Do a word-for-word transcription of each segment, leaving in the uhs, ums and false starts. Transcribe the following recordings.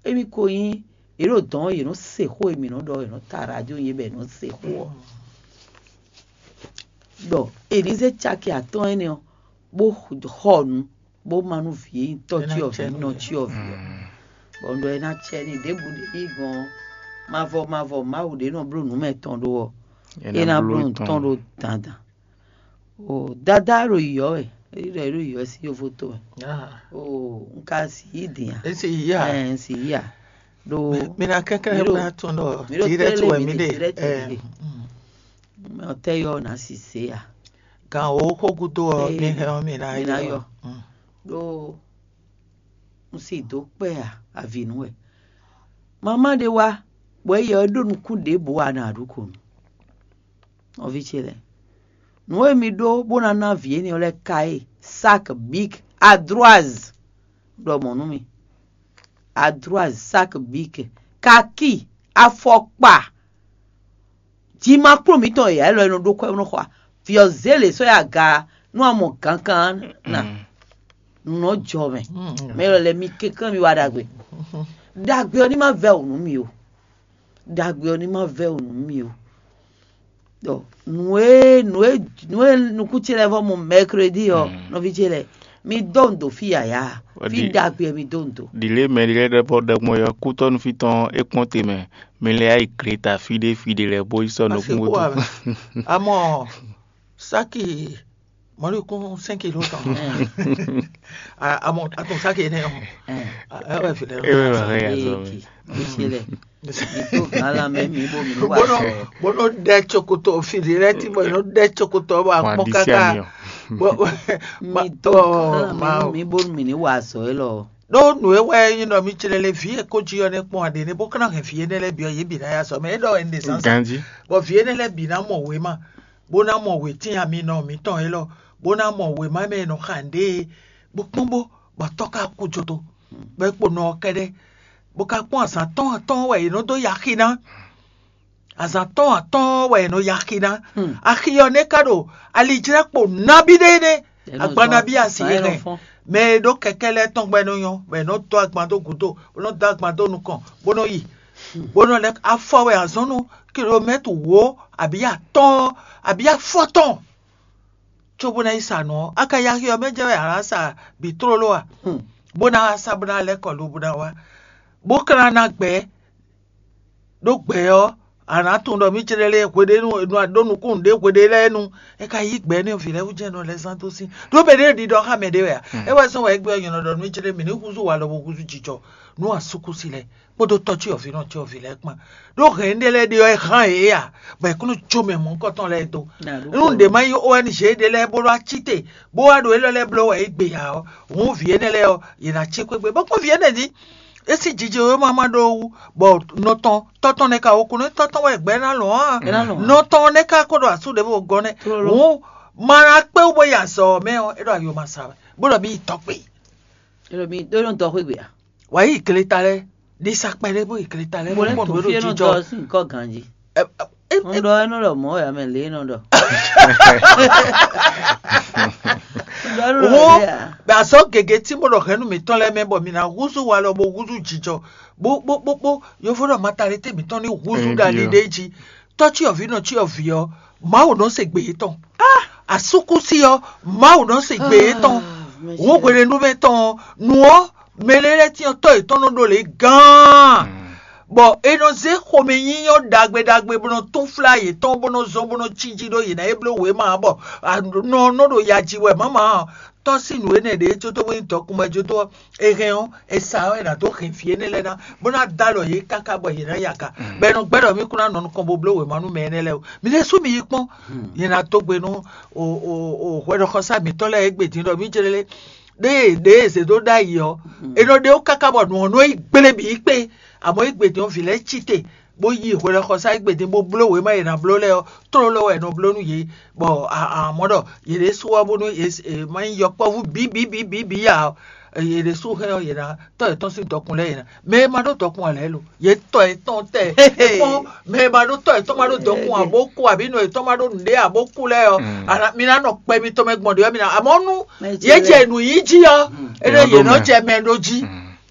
Émí ko nyí yě ɖo dɔ̌n, yě nɔ se xó e mǐ nɔ ɖɔ, yě nɔ ta radio nyi bɔ yě nɔ se xó ɔ́. Ɖɔ è nǐ zé caki atɔ́ɔ́n énɛ́ ɔ́, bó xɔ nǔ, bó má nú vǐ e nyí tɔ́ cyɔvǐ nɔ cyɔvǐ ɔ́. Bɔ un ɖɔ é ná cɛ ní ɖěbǔ ɖě yí gbɔn ɔ́, mavɔ mavɔ Mawu ɖě nɔ bló nǔ mɛ tɔn ɖó ɔ́, é ná bló nǔ tɔn ɖó dandan. O dada ɖo yiyɔ wɛ, é ɖɔ é ɖo yiyɔ sín yovo to wɛ. O un ka si yí din a? Esi yí a? Ɛ un si yí a? Ɖo Mi na kɛnklɛ́n mi ɖo- bla tɔn ɖɔ mi ɖo direct tɛlɛ wɛ mi mi ɖe ɖe. Direct mi ɖe. Mɛ ɔtɛ yɔ na si se a? Gan wo xó gúdo ɔ, mi hɛn ɔ mi na mi na yɔ. Yɔ. Ɖó un si dó kpɛ a avi nú wɛ. Mama ɖé wá, bɔ é yɛ ɔ́ ɖó nukún ɖěbǔ a nǎ ɖu ko nú. Nɔví ce lɛ́ɛ, nǔ e mi ɖó bó ná ná vǐ énɛ́ ɔ́ lɛ́ɛ ka e: sak bík, adroaz, ɖɔ mɔ̌ nú mi, adroaz, sak bík, kakí, afɔkpa, jimakplɔ́n mǐtɔn e ǎ élɔ́ e nɔ ɖó kwɛ́ bó nɔ xɔ a? Vǐ ɔ́ zé lě sɔ́ yi aga nú a mɔ gǎnkan ná. Nǔ nɔ jɔ mɛ. Mɛ élɔ́ lɛ́ɛ mi kɛnklɛ́n mi wa ɖagbe. Ɖagbe ɔ́ ní ma vɛ́ wǔ nú mi o. Ɖagbe ɔ́ ní ma vɛ́ wǔ nú mi o. Ɖɔ nǔ e nǔ e nǔ e nukún ce lɛ́ɛ vɔ mɔ mɛkredi ɔ́, nɔví ce lɛ́ɛ, mi dó ndo fí yǎyá, fí ɖagbe ɔ́ mi dó ndo. Ɖile mɛ ɖé lɛ́ɛ ɖɔ bɔ ɖɔgbɔn yɔ kútɔ́nú fí tɔn é kpɔ́n te mɛ, mi lɛ́ yá yi Greta fí ɖé fí ɖé lɛ́ɛ bó yi sɔ́ nukún bó dó. Amɔ saki mɔlíkún cinq kilo tɔn. Amɔ atɔn saki énɛ́ ɔ́, ɛ wɛ fi lɛ. Ewe wɛ hɛn ya zɔ mi. Eki mi se lɛ. Mi to gan la mɛ mi bo mi wa Bono sɔ. Bono ɖɛ tsokoto fili lɛ ti bɔ yino ɖɛ tsokoto bɔ akpɔ kaka. Mi to gan la mɛ mi bo mi ni wa sɔ elɔ. Ɖó nǔ e wɛ nyí nɔ mi clé lé vǐ e kó jí ɔ́ nɛ́ kpɔ́n aɖě nɛ́ bó ka ná hɛn vǐ énɛ́ lɛ́ɛ bǐ ɔ́ yě bǐ ná ya sɔ mɛ é ɖɔ ɛnɛ zán. Ganji. Bɔ vǐ énɛ́ lɛ́ɛ bǐ ná mɔ wěma, bó ná mɔ wětín ami nɔ mǐtɔn élɔ́, bó ná mɔ wěma mɛ e nɔ xa nǔɖé e bó kpɔ́n bó, bɔ tɔ́ ka kú jodo, bɔ é kpo nɔ ɔ́ kɛ́ɖɛ́, bó ka kpɔ́n azǎn tɔn atɔ́ɔ́n wɛ è nɔ dó yi axi ná. Azǎn tɔn atɔ́ɔ́n wɛ è nɔ yi axi ná. Axi ɔ́ nɛ́ ka ɖo alijlɛ́kpo nabí ɖé nɛ́, agban nabí asi e hɛn. Mɛ e ɖó kɛkɛ́ lɛ́ɛ tɔn gbɛ nɔ nyɔ́, bɔ è nɔ dó agban dó gǔdo, bó nɔ dó agban dó nukɔn, bó nɔ yi, bó nɔ lɛ́ afɔ wɛ azɔn nú kilomɛ́tr wǒ abǐ atɔ́ɔ́n abǐ afɔtɔn. Cóbó ná yi sa nǔ ɔ́, a ka yi axi ɔ́ mɛ jɛ wɛ a nǎ sa bǐ tlóló a? Bó ná wá sá bó ná lɛ́ kɔ lo bó ná wá, bó ka ná ná gbɛ̌. Ɖó gbɛ̌ ɔ́, a nǎ tunwun ɖɔ mǐ cɛ́ɖɛ́ lɛ́ɛ hweɖénu è nɔ ɖó nukúnnú ɖě hweɖé lɛ́ɛ nu. É ka yí gbɛ̌ nú vǐ lɛ́ɛ wú jɛ́n nɔ lɛ́ zán dó sín. Ɖó mɛ ɖé ɖiɖɔ xá mɛ ɖé wɛ a? É wɛ zɔ́n wɛ é gbé ɔ́ nyɔ̌ nɔ ɖɔ nú mǐ cɛ́ɖɛ́ mǐ ní húzú walɔ bó húzú jijɔ nú asúkúsi lɛ́ɛ kpódó tɔ́ cyɔvǐ nɔ cyɔvǐ lɛ́ɛ kpán. Ɖó hɛ̌n ɖé lɛ́ɛ ɖe ɔ́, é hán yě a, bɔ è kún nɔ jó mɛ mɔ̌hunkɔtɔn lɛ́ɛ dó. Nú ɖě má nyí O N G ɖé lɛ́ɛ bó ɖó ací te, bó wá ɖo élɔ́ lɛ́ɛ bló wɛ é gbe ǎ ɔ́, hǔn vǐ énɛ́ lɛ́ɛ ɔ́, yě ná cí xwé gbe, bó kpɔ́n vǐ énɛ́ jí. É sín jijɛ e ma ma ɖó wú, bɔ nɔ tɔn tɔ́ tɔn nɛ́ ka wo kún nú tɔ́ tɔn wɛ gbɛ̌ ná lɔn á. Nɔ tɔn nɛ́ ka ko ɖo asú ɖěvo gɔ́ nɛ́. Hǔn ma ná kpé wú bó yi azɔ̌ ɔ́ mɛ ɔ́, é ɖo ayo ma sa wɛ, bó ɖɔ mì yi tɔ́ kpé. É ɖo mi ɖó nɔ dɔ xwé gbe a? Wǎ yi gleta lɛ́ɛ, ɖi sa kpɛɖé bó yi gleta lɛ́ɛ, Mo lɛ́ bó to kpɔn fí nǔ e nɔ jijɔ. Dɔ sín kɔ́ ganjí. Ɛ, ɛ, Ń ɖɔ é nɔ ɖɔ mɔ̌ wɛ ame lě e nɔ ɖɔ. Ń ɖɔ é nɔ ɖɔ Wo lě a? Bɛ azɔ̌ gěgé tí bó ɖɔ hɛ̌nnu mǐtɔn lɛ́ɛ mɛ bɔ mǐ ná húzú walɔ bó húzú jijɔ, bó bó bó bó yovo ɖɔ matalite mǐtɔn ní húzú Ɛɛ, ɖali ɖ'é jí. Tɔ́ cyɔvǐ nɔ cyɔvǐ ɔ́, Mawu nɔ se gbe yětɔn. Asúkúsi ɔ́, Mawu nɔ se gbe yětɔn. Wǒ hwenɛ́nu mɛ tɔn ɔ́, nǔ ɔ́, mɛ lɛ́ɛ lɛ́ɛ cyɔ́n tɔ́ yětɔn nɔ ɖó lě gán, bɔ è nɔ zé xomɛnyínyɔ́ ɖagbe ɖagbe bó nɔ túnflá yětɔn bó nɔ zɔ́n bó nɔ cí jí ɖó yě ná é bló wěma ǎ, bɔ nɔ nɔ ɖo ya ji wɛ mǎmǎ ɔ́, tɔ́ sín nǔ énɛ́ ɖě códó bó nyí dɔkun mɛ jódó ɔ́, è hɛn ɔ́, è sa ɔ́, è nǎ dó hɛn vǐ énɛ́ lɛ́ɛ ná, bó ná dó alɔ yě káká bɔ yě ná yi aga. Bɔ è nɔ gbɛ́ ɖɔ mí kún ná nɔ nukɔn bo bló wěma nú mɛ énɛ́ lɛ́ɛ ó. Mi ɖésú mi yi kpɔ́n, nyɛ ná dó gbe nú o o o hwɛɖɔxɔsá mǐtɔn lɛ́ɛ égbé din ɖɔ mí jlé ɖéé ɖéé è zě dó ɖ'ayǐ ɔ́, è nɔ ɖe ó káká bɔ nǔ ɔ́ nɔ yi gblé bǐ kpé. Amɔ̌ égbé din ɔ́, vǐ lɛ́ɛ cí te, bó yi hwɛɖɔxɔsá égbé din bó bló wěma e è nǎ bló lɛ́ɛ ɔ́, tlóló wɛ è nɔ bló nú yě, bɔ amɔ̌ ɖɔ yě ɖésú ɔ́ bónú yě má nyí yɔkpɔ́vú bǐbǐbǐbǐ ǎ ɔ́, yě ɖésú hɛn ɔ́, yě ná tɔ́ yětɔn sín dɔkun lɛ́ɛ yě ná. Mɛ e ma ɖó dɔkun ǎ lɛ́ɛ lo, yě tɔ yětɔn tɛ. É kpɔ́n, mɛ e ma ɖó tɔ yětɔn ma ɖó dɔkun ǎ bó kú, abǐ nɔ yětɔn ma ɖó nǔɖé ǎ bó kú lɛ́ɛ ɔ́, mi ná nɔ kpɛ mitɔn mɛ gbɔn ɖě ɔ́, mi ná amɔ̌ nú yě jɛ nǔ yí jí ɔ́, é ɖo yě nɔ jɛ mɛ ɖó jí.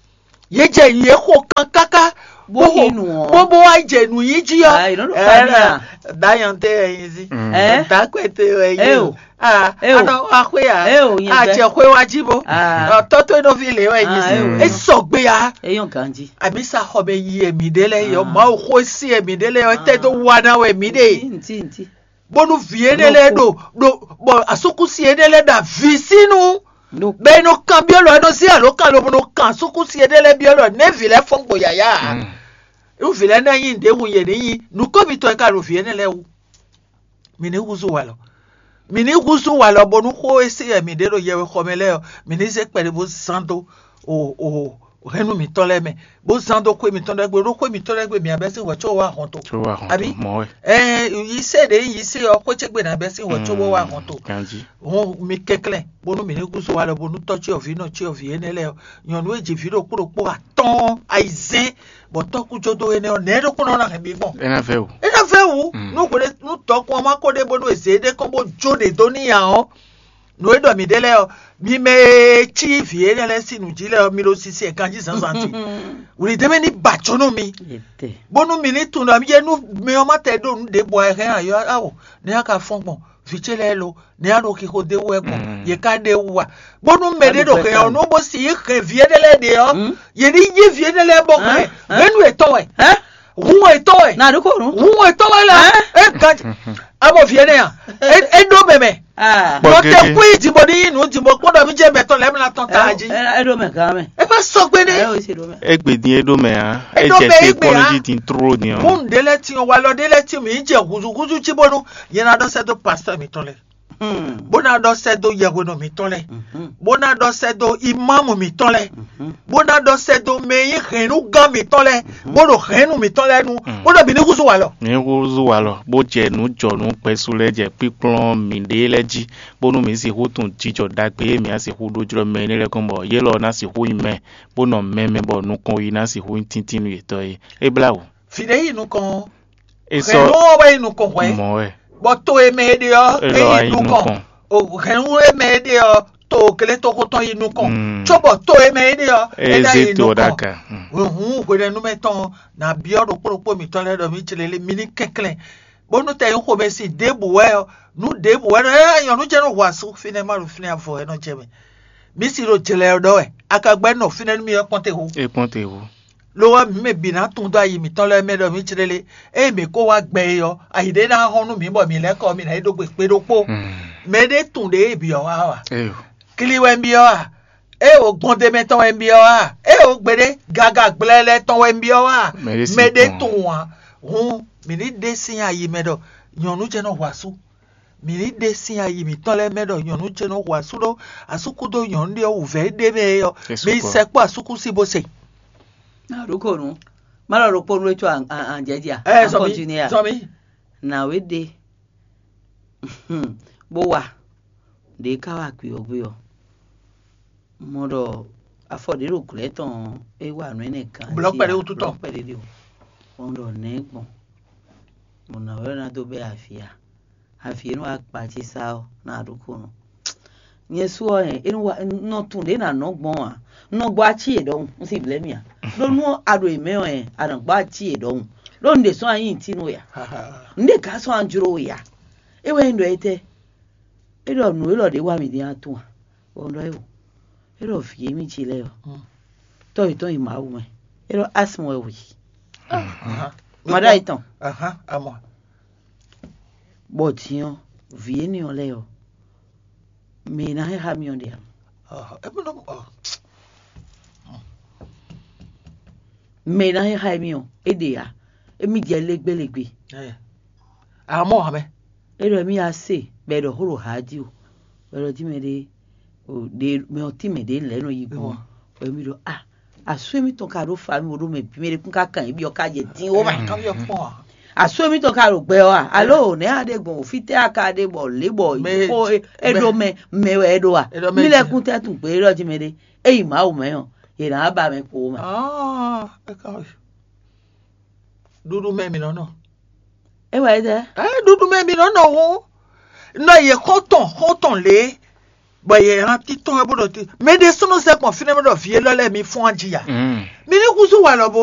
Yě jɛ yě xo kan káká bó xo bó bó wá jɛ nǔ yí jí ɔ́. Dayɔn tɛ wɛ nyi zi. Dakwɛ tɛ wɛ nyi o. Anɔ wá xwé ya. Acɛ xwé wá jí bó. Tɔ́tɔ́ nɔví lě wɛ nyi zi. É sɔgbe ya. Àbí sa xɔ bɛ yi ɛmí ɖé lɛ yɔ Mawu xó sí ɛmí ɖé lɛ yɔ tɛ dó wa ná wɛ mí ɖe. Bónú vǐ énɛ́ lɛ́ɛ ɖo ɖo bɔ asúkúsi énɛ́ lɛ́ɛ ɖo avǐ sínu. Bɛ é nɔ kanbyɔ́ lɔ é nɔ zé alǒkan lobo nɔ kan asúkúsi énɛ́ lɛ́ɛ byɔ́ lɔ nɛ̌ vǐ lɛ́ɛ fɔ́n gbo yǎyá ǎ. Nú vǐ lɛ́ɛ ná nyí nǔɖé wu yě ní nyí, nǔkɔ́mítɔn e ka ɖo vǐ énɛ́ lɛ́ɛ wú. Mǐ ní húzú walɔ. Mǐ ní húzú walɔ bónú xó e se wɛ mǐ ɖe ɖo yɛwexɔ mɛ lɛ́ɛ ɔ́, mǐ ní zé kpɛɖé bó zán dó o o hɛ̌nnu mǐtɔn lɛ́ɛ mɛ, bó zán dó xwé mǐtɔn lɛ́ɛ gbe, ɖó xwé mǐtɔn lɛ́ɛ gbe mǐ ná bɛ́ sín hwɛ̌ có wá hɔn to. Abǐ? Ɛɛ, yi se ɖě yi se ɔ́, xwé ce gbe ná bɛ́ sín hwɛ̌ có bó wá hɔn to. Hɔn mi kɛnklɛ́n bónú mǐ ní húzú walɔ bónú tɔ́ cyɔvǐ nɔ cyɔvǐ énɛ́ lɛ́ɛ ɔ́, nyɔ̌nu e ji vǐ ɖokpó ɖokpó atɔ́ɔ́n ayizɛ́n bɔ tɔ́kújɔdó énɛ́ ɔ́, nɛ̌ ɖokpónɔ ná hɛn mi gbɔn? É ná vɛ́ wǔ. É ná vɛ́ wǔ. Nú hwelé nú dɔkun ɔ́ ma ko ɖe bónú è zě ɖé kɔn bó jó ɖě dó n'i ǎ ɔ́, nǔ e ɖɔ mǐ ɖe lɛ́ɛ ɔ́, mi mɛ e cí vǐ énɛ́ lɛ́ɛ sín nǔ jí lɛ́ɛ ɔ́, mi ɖo sisi e ganjí zǎnzǎn jí. Wlǐdɛ́mɛ ní ba acɔ́ nú mi, bónú mi ní tunwun ɖɔ mi jɛ nú mɛ ɔ́ ma tɛ ɖó nǔ ɖěbǔ ǎ, è hɛn ayɔ awo, nɛ̌ a ka fɔ́n gbɔn? Vǐ ce lɛ́ɛ lo, nɛ̌ a ɖo xixo d'é wú wɛ gbɔn? Yě ká ɖe wú a? Bónú mɛɖé ɖo hɛn ɔ́, nú bó si yí hɛn vǐ énɛ́ lɛ́ɛ ɖe ɔ́, yě ní yí vǐ énɛ́ lɛ́ɛ bɔ hɛn hɛ̌nnu yětɔn wɛ. Hun wɛ tɔ́ wɛ. Na ɖokó nu. Hun wɛ tɔ́ wɛ la. É ganji. Abɔ vǐ énɛ́ a? É ɖó mɛ mɛ. Nɔ tɛ kú yi dìbò ní yí nǔ dìbò kpɔ́n ɖɔ mí jẹ́ mɛtɔn lɛ́ mla tɔn ta jí. É ɖó mɛ gán mɛ. É ma sɔgbe nɛ. É o ṣe ɖó mɛ. Égbè din é ɖó mɛ ǎ. É jɛ te kpɔ́n ní jí din tró din ɔ́. Mú nǔɖé lɛ́ ti ɔ́, walɔ ɖé lɛ́ ti mǐ jɛ húzúhúzú jí bónú nyɛ ná ɖɔ sɛ́ dó pastɔ́ mǐtɔn lɛ́ɛ, bó ná ɖɔ sɛ́ dó yɛhwenɔ mǐtɔn lɛ́ɛ, bó ná ɖɔ sɛ́ dó imámu mǐtɔn lɛ́ɛ, bó ná ɖɔ sɛ́ dó mɛ e nyí hɛ̌nnugán mǐtɔn lɛ́ɛ, bó ɖo hɛ̌nnu mǐtɔn lɛ́ɛ nu, bó ɖɔ mǐ ní húzú walɔ. Mǐ húzú walɔ, bó jɛ nǔ jɔ nǔ kpɛsu lɛ́ɛ jɛ kpíkplɔ́n mǐɖée lɛ́ɛ jí, bónú mǐ sixú tunwun jijɔ ɖagbe e mǐ ná sixú ɖó jlɔ́ mɛ énɛ́ lɛ́ɛ gɔ́n bɔ yě lɔ ná sixú nyí mɛ, bó nɔ mɛ mɛ bɔ nukɔn yi ná sixú nyí tíntín nú yětɔn é. É blá wǔ. Fǐ ɖé yi nukɔn ɔ́, é sɔ́ hɛ̌nnu ɔ́ wɛ yi nukɔn hwɛ̌, mɔ̌ wɛ. Bɔ to e mɛ é ɖe ɔ́, é é lɔ yi wá yi nukɔn. Nukɔn. O hɛ̌nnu e mɛ é ɖe ɔ́, to gletoxo tɔn yi nukɔn. Mm. Cóbɔ to e mɛ é ɖe ɔ́, é É ná zé yi to ɔ́ nukɔn. Ɖ'aga. Mm. Hǔn hwenɛ́nu mɛ tɔn ná byɔ́ ɖokpó ɖokpó mǐtɔn lɛ́ɛ ɖɔ mǐ jlé lé, mi ní kɛnklɛ́n. Bónú tɛ nyí xomɛsin ɖěbǔ wɛ ɔ́, nǔ ɖěbǔ wɛ ɖɔ é nyɔ̌nu jɛ́n nɔ hu asú fínɛ́ má ɖo fínɛ́ avɔ wɛ nɔ jɛ mɛ. Mǐ si ɖo jlɛ ɔ́ ɖɔ wɛ, a ka gbɛ́ nɔ fínɛ́ nú mì ɔ́ kpɔ́n te hu. É kpɔ́n te hu. Lo ɔ́, mǐ mɛ bǐ ná tunwun dó ayi mǐtɔn lɛ́ɛ mɛ ɖɔ mǐ jlé lé. Ée mǐ ko wá gbɛ é ɔ́, ayi ɖé ná hɔn nú mǐ bɔ mǐ lɛ́ kɔ mǐ ná yi ɖó gbe kpé ɖokpó. Mɛ ɖé tunwun ɖě bǐ ɔ́ wá ɔ́ a? Kli wɛ un byɔ́ a? Ée o gbɔn d'é mɛ tɔn wɛ un byɔ́ a? Ée o gbeɖé gaga gblɛlɛ tɔn wɛ un byɔ́ a? Mɛ ɖé tunwun ǎ. Hǔn mǐ ní ɖe sín ayi mɛ ɖɔ nyɔ̌nu ce nɔ hu asú. Mǐ ní ɖe sín ayi mǐtɔn lɛ́ɛ mɛ ɖɔ nyɔ̌nu ce nɔ hu asú ɖó asúkúdó nyɔ̌nu ɖé ɔ́ wǔvɛ́ ɖé mɛ é ɔ́, mi sɛkpɔ́ asúkúsi bó se. Na ɖokonu. Má lɔ ɖokponu wɛ tsɔ anjɛji a? Ɛ zɔmi. Zɔmi. Nǎwe ɖe bó wa ɖě ká wa akpi ɔ́ gbé ɔ́, mɔ ɖɔ afɔ ɖě ɖo glɔ̌ tɔn ɔ́, é wa nǔ énɛ́ gǎn. Blɔ̌ kpɛɖé wútu tɔn. Blɔ̌ kpɛɖé ɖe o. Bɔ un ɖɔ nɛ̌ gbɔn? Bɔ nǎwe ɔ́ ná dó bɛ́ avǐ a? Avǐ e nɔ wá kpa ce sá ɔ́ ná ɖokonu. Nyɛ sú ɔ́, ɛ, é nɔ wá nɔ tunwun ɖě nǎ nɔ gbɔn ǎ. Un nɔ gbɔ ací yě ɖɔhun, un si blɛ́ mì ǎ. Ɖó nú a ɖo yě mɛ ɔ́, ɛ, a nǎ gbɔ ací yě ɖɔhun. Ɖó un ɖě sɔ́ anyí tínú ya. Un ɖě gǎ sɔ́ anjló ya. É wɛ nyí ɖɔ étɛ́? É ɖɔ nǔ élɔ́ ɖě wa mì din a tunwun a? Bɔ un ɖɔ é o. É ɖɔ vǐ e mì ji lɛ́ɛ ɔ́, tɔ́ yětɔn yi Mawu mɛ. É ɖɔ asmɔ wɛ wǔ yi. Maɖá yětɔn. Bɔ din ɔ́, vǐ énɛ́ ɔ́ lɛ́ɛ ɔ́, mɛ e ná hɛn xá mì ɔ́ ɖe ǎ. Mɛ e ná hɛn xá émí ɔ́, é ɖe ǎ. Émí jɛ légbélégbé. Amɔ̌ ǎ mɛ. É ɖɔ émí yá se, bɔ è ɖɔ xó ɖo hǎ jí o. Bɔ è ɖɔ jí mɛ ɖé, ɖe mɛ ɔ́ tín mɛ ɖě lɛ̌ nɔ yi gbɔn. Bɔ émí ɖɔ a, asú émítɔn ka ɖó fa mì bo ɖó mɛ bǐ mɛ ɖé kún ka kan yě byɔ́ ká jɛ dín ó mɛ. Asú émítɔn ka ɖo gbɛ ɔ́ a? Alo nɛ̌ a ɖe gbɔn o? Fítɛ́ a ka ɖe bɔ lě bɔ xó é ɖó mɛ mɛ wɛ é ɖó a? Mí lɛ́ kún tɛ́ tunwun gbě é ɖɔ jí mɛ ɖé. É yi Mawu mɛ ɔ́, yě ná ba mɛ kpo mɛ. Ɖuɖu mɛ mǐ nɔ nɔ. É wɛ é ɖɛ. Ɖuɖu mɛ mǐ nɔ nɔ hú. Nɔ yě xɔ́ntɔn xɔ́ntɔn lě. Bɔ yě hɛn títɔn wɛ bó ɖɔ tí mɛ ɖé súnnu zɛ gbɔn fínɛ́ bó ɖɔ vǐ élɔ́ lɛ́ɛ mi fɔ́n jí ya. Mm. Mi ní kúzú wà lɔ bó